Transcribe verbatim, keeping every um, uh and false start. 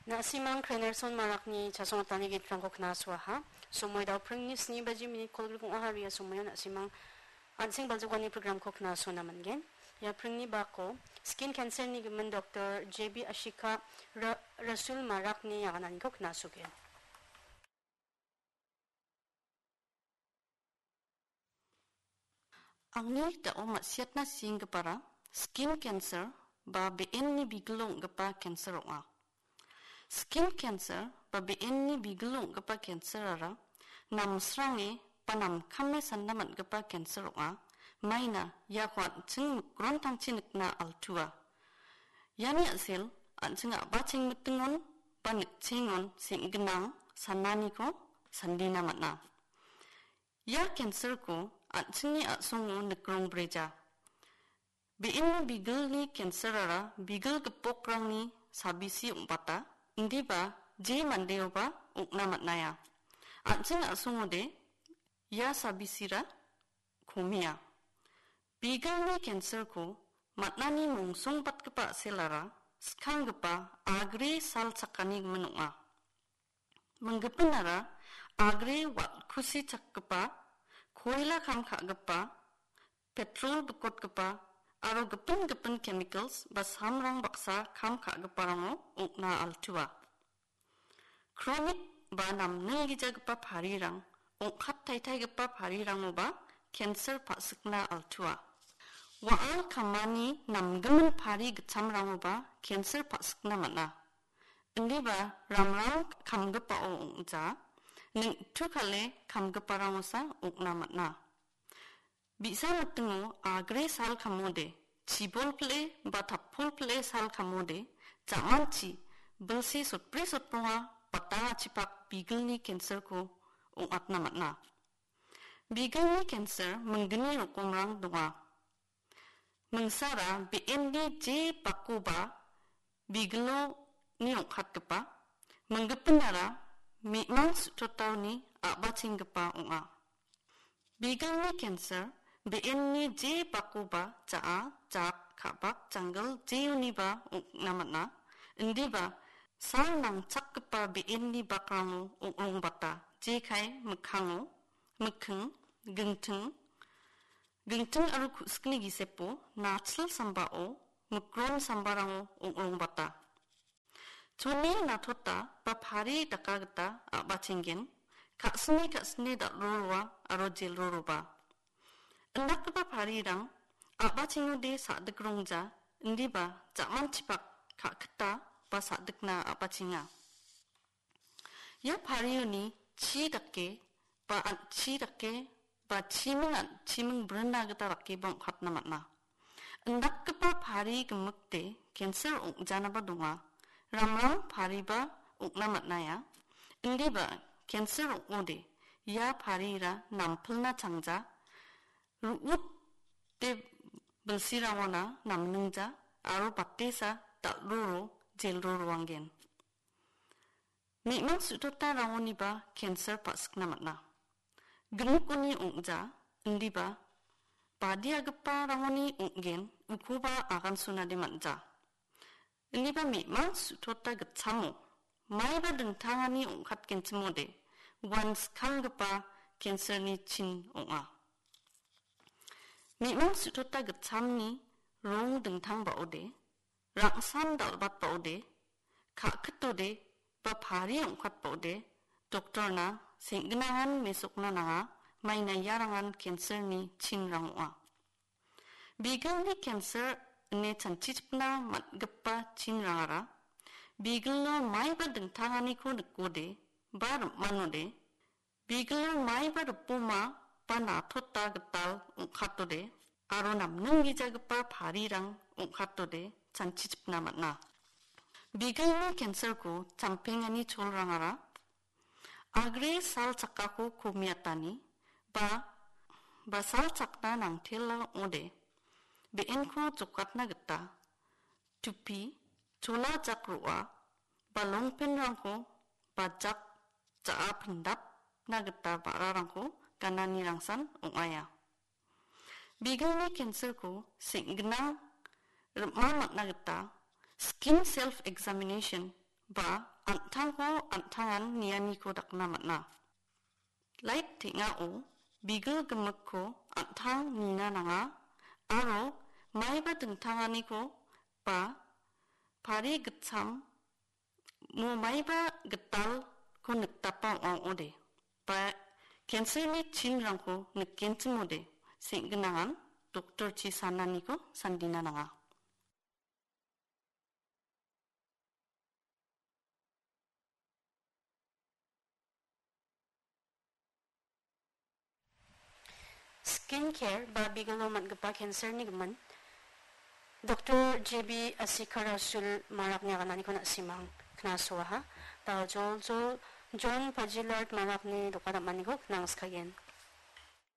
Na·simang Krenerson Marakni chasongatani gitrangko knasuaha. Somoi dao pringni sni baji minit kolgrik ong·aha ria somoion na·simang an·seng baljogani programko knasona man·gen. Ia pringni bako skin cancer-ni gimin doktor J B Ashika Ra-, Rasul Marakni agananiko knasogen. Angni da·o ma·siatna sienggipara skin cancer ba be·enni bigilo ong·gipa cancer ong·a. Skin cancer ba be·enni bigilo ong·gipa cancer-ara namsrange ba namkame sanda man·gipa cancer ong·a. Maina iako an·ching mikrontangchi nikna altua. Iani a·sel an·ching a·bachengmitingon ba nikchengon seng·ginang sananiko sandina man·a. Ia cancer-ko an·chingni a·songo nikrongbreja. Be·enni bigilni cancer-ara bigil gipokrangni sabisi ong·bata, indiba je mandeoba ong·na man·aia. An·ching a·songode ia sabisira komia. Bigilni cancer-ko man·ani mongsongbatgipa a·selara skanggipa agre sal chakani gimin ong·a. Minggipinara agre wal·kusi chakgipa, koila kam ka·gipa, petrol bikotgipa aro gipin gipin chemicals ba samrang baksa kam ka·giparango ong·na altua. Kronik ba namninggijagipa parirang, ong·kat taitaigipa parirangoba cancer pa·sikna altua. Wa·al kamani namgimin pari gitchamrangoba cancer pa·sikna man·a. Indiba ramrang kamgipao ong·ja, ning·tu kale kamgiparangosa ong·na man·a. Bi·sa mitingo agre sal kamode, chibol pile ba tapol pile sal kamode, jamanchi, bilsi sotbri sotbonga, batangachipak bigilni cancer-ko ong·atna man·a. Bigilni cancer minggni rokomrang donga. Mingsara be·enni je bakoba bigiloni ong·katgipa, minggipinara me·mang su·totaoni a·bachenggipa ong·a. Bigilni cancer be·enni je bakoba ja·a, jak, ka·bak, janggil jeoniba ong·na man·a. Indiba sal nangchakgipa be·enni bakrango ong·ongbata, jekai mikkango, mikking, gingting, gingting aro ku·sikni gisepo, nachil sambao, mikron sambarango ong·ongbata. Chone natota ba pari daka gita a·bachenggen, ka·sine ka·sine dal·roroa aro jelroroba. Indakgipa parirang a·bachengode sa·dikrongja, indiba jamanchipak ka·kita ba sa·dikna a·bachenga. Ia parioni chi dake ba an·chi dake ba chiming an-, chiming brinna gita dakeba ong·katna man·a. Indakgipa pari gimikde cancer ong·janaba donga. Ramrang pariba ong·na man·aia. Indiba cancer ong·ode ia parira nampilna changja, ru·ute bilsirangona namningja aro batesa dal·roro jelroroanggen. Me·mang su·totarangoniba cancer pa·sikna man·a. Gimikoni ong·ja, indiba badiagiparangoni ong·gen, ukoba agansunade man·ja. Indiba me·mang su·tota gitchamo, maiba dingtangani ong·katgenchimode, uan skanggipa cancer-ni chin ong·a. Me·mang su·tota gitchamni rong dingtangbaode, rangsan dal·batbaode, ka·kitode ba pari ong·katbaode doktorna seng·ginangan mesokna nanga, maina iarangan cancer-ni chinrang ong·a. Bigilni cancer ine chanchichipna man·gipa chinrangara bigilo maiba dingtanganiko nikode ba rim·manode, bigilo maiba ripoma ba natota gital ong·katode aro namninggijagipa parirang ong·katode chanchichipna man·a. Bigilni cancer-ko champengani cholrangara agre sal chakako komiatani ba, ba sal chakna nangtela ong·ode, be·enko jokatna gita tupi, chola jak ro·a, ba longpant-rangko ba jak ja·a pindapna gita ba·rarangko ganani rangsan ong·aia. Bigilni cancer-ko seng·ginang rim·a man·na gita skin self examination ba an·tangko an·tangan nianiko dakna man·a. Lait teng·ao bigil gimikko an·tang nina nanga aro maiba dingtanganiko ba pari gitcham mo maiba gitalko nikdapa ong·a ong·ode. Ba cancer-ni chinrangko nikenchimode seng·ginangan doktorchi sananiko sandina nanga. Skin care ba bigilo man·gipa cancer-ni gimin, Doktor J B Asikarasul Marakni agananiko na·simang knasoaha. Da Joljol John Pajilard Marakni doka dam·aniko knangskagen.